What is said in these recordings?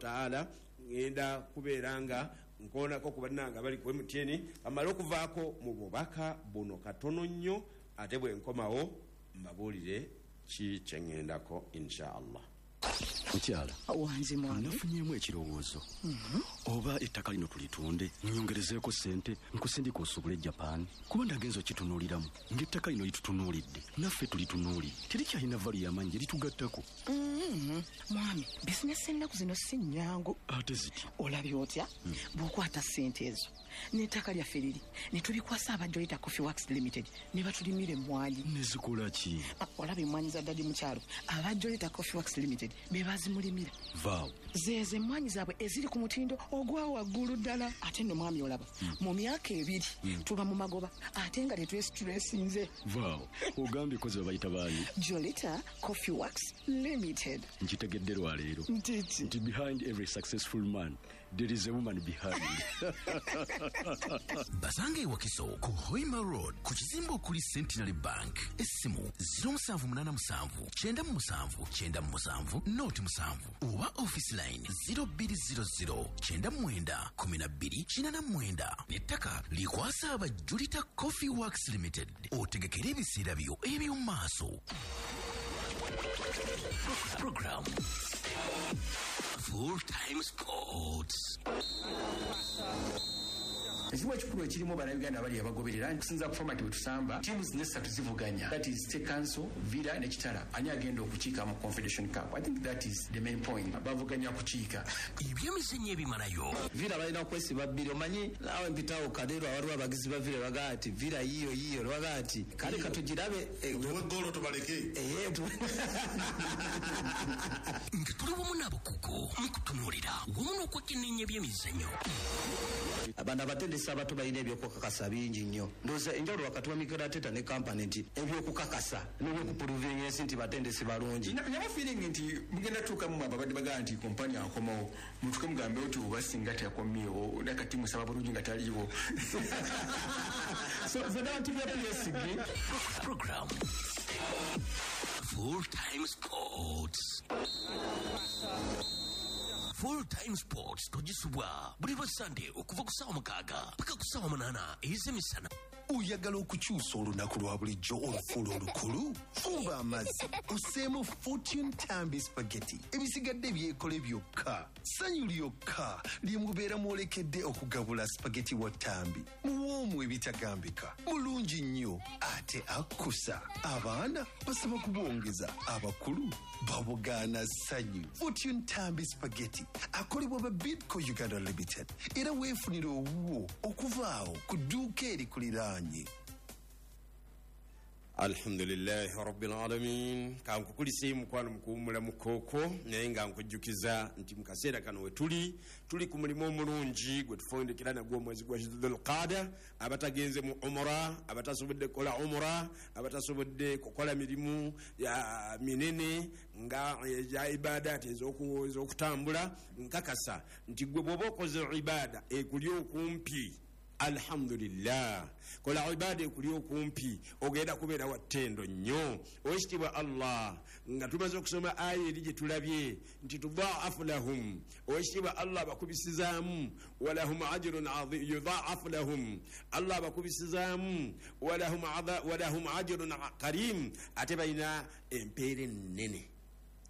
taala ngenda kubeera nga nkoonako ku bannange abali ku MTN, amale okuvaako mu bubaka buno katono nnyo, ate bwe nkomawo mbabuulire ki kye ŋŋendako insha Allah. Mukyala Wangi mwami. Nafunyeemu ekirowoozo. Oba ettaka lino tulitunde, nyongerezeeko ssente, nkusindika osuubule Japan, kuba ndagenza okitunuuliramu ng'ettaka lino litutunuulidde, naffe tulitunuulidde, terikyalina value y'amaanyi gye litugattako. Mwami, bizinesi ennaku zino si nnyangu. Ate ziti? Olabye otya bw'okwata ssente ezo n'ettaka lyaffe liri ne tubikwasa aba Jolita Coffee Works Limited ne batulimira emmwanyi? Nezikola ki? Ah, olaba emmwanyi za daddy mu kyalo, aba Jolita Coffee Works Limited be bazimulimira. Vaawo. Zeezo emmwanyi zaabwe eziri ku mutindo ogwa waggulu ddala. Ate nno mwami, olaba mu myaka 2 tuba mu magoba, ate nga tetwesitulesinze. Vaawo, ogambye kozi babayita baani? Jolita Coffee Works Limited. Nkitegedde lwaleero. Ntiki? Nti behind every successful man there is a woman behind. Basanga ewakiso ku Hoima Road, ku kizimbe okuli Centenary Bank. Essimu 0787 97 97 07 oba office line 0200 99 12 89. N'ettaka likwasa aba Julita Coffee Works Limited, otegekere ebiseera byo eby'omu maaso. Program Full Time Sports. Ekimu ekikulu ekirimu, Bannayuganda abali abagoberera kusinza ku format bwe tusamba, teams nesatu zivuganya, that is State Council, Villa ne Kitara. Ani agenda okukiika mu Confederation Cup? I think that is the main point, bavuganya kukiika. Ebyemizannyo ebimalayo. Villa balina kwesiba bbiri. Omanyi naawe mpitawo Kadeero, waliwo abagizi ba Villa bagaa ati Villa yiyo yiyo, bagaa ati kale katugirabe. Tuwe golo tubaleke. Nga tuli wamu n'abakugu mu kutunuulira wamu n'okwekenneenya ebyemizannyo. Abana abatendesi abato balina ebyokukakasa bingi nnyo. Ndowooza enjawulo wakati wa Mikel Arteta ne Kompany nti ebyokukakasa n'ebyokuprovinga ensi nti batendesi balungi. Nabo feeling nti mugenda tuukamu, ababadde bagaa nti Kompany akomawo, mutuke mugambe oti oba singa teyakomyewo, nakati musaba bulungi nga taliiwo. So nze ndaba nti bya PSG. Program Full Time Sports. Full Time Sports togisubwa buli lwa Sande okuva ku ssaawa 6 paka ku ssaawa 8 ez'emisana. Oyagala okukyusa olunaku lwa bulijjo olufuula olukulu? Fumba amazzi, oseemu Fortune Tambi Spaghetti, ebisigadde byekole byokka. Ssanyu lyokka lye mubeera mwolekedde okugabula spaghetti wa Tambi, muwoomu ebitagambika, mulungi nnyo ate akkusa. Abaana basaba kubwongeza, abakulu babugaana ssanyu. Fortune Tambi Spaghetti akolebwa ba Bidco Uganda Limited, era weefunire owuwo okuva awo ku dduuka erikuliraanye. Alhamdulillahi rabbil alamin. Kankukulise mukwano mukuwumula mukooko, naye nga nkujjukiza nti mu kaseera kano we tuli, tuli ku mulimu omulungi gwe tufundikira nagwo omwezi gwa Dhulqada. Abatagenze mu umura, abatasobodde kukola umura, abatasobodde kukola mirimu ya minene nga egya ibadati ez'okutambula, nkakasa nti gwe bw'oba okoze ibada ekuli okumpi, alhamdulillah, kola ibada ekuli okumpi, ogenda kubeera wa ttendo nnyo. Owekitiibwa Allah, nga tumaze okusoma aya eri gye tulabye nti tudaafu lahum, owekitiibwa Allah abakubisizaamu, walahum ajrun azim. Yudaafu lahum, Allah abakubisizaamu, walahum ajrun karim, ate balina empeera ennene.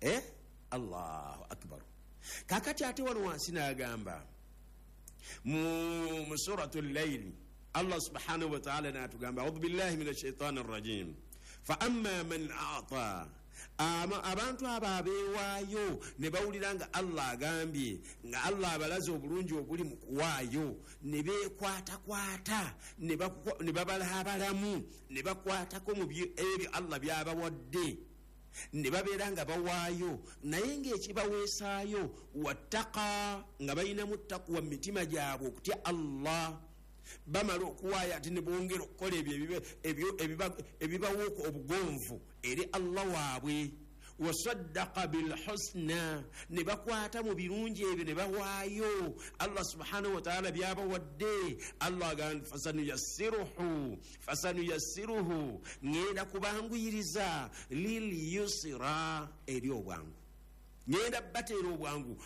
Eh? Allahu akbar. Kakati ate wano wansi n'agamba mu suratu Llaili, Allah subhanahu wataala natugamba, audhu billahi min ashaitani rrajim, fa amma man ata. Abantu abo abeewaayo ne bawulira nga Allah agambye, nga Allah abalaze obulungi obuli mu kuwaayo, ne beekwatakwata, ne babalaabalamu, ne bakwatako mu ebyo Allah by'abawadde, ne babeera nga bawaayo, naye ng'ekibaweesaayo wattaka, nga balinamu takuwa mu mitima gyabwe, okutya Allah. Bamala okuwaayo ate ne bongera okukola ebyo ebibawa obugonvu eri Allah waabwe. Wasaddaka bilhusna, ne bakwata mu birungi ebyo ne bawaayo Allah subhanahu wataala byabawadde. Allah agamba fasanuyassiruhu, fasanuyassiruhu, ŋŋenda kubanguyiriza, lil yusira, eri obwangu, ŋŋenda bateera obwangu.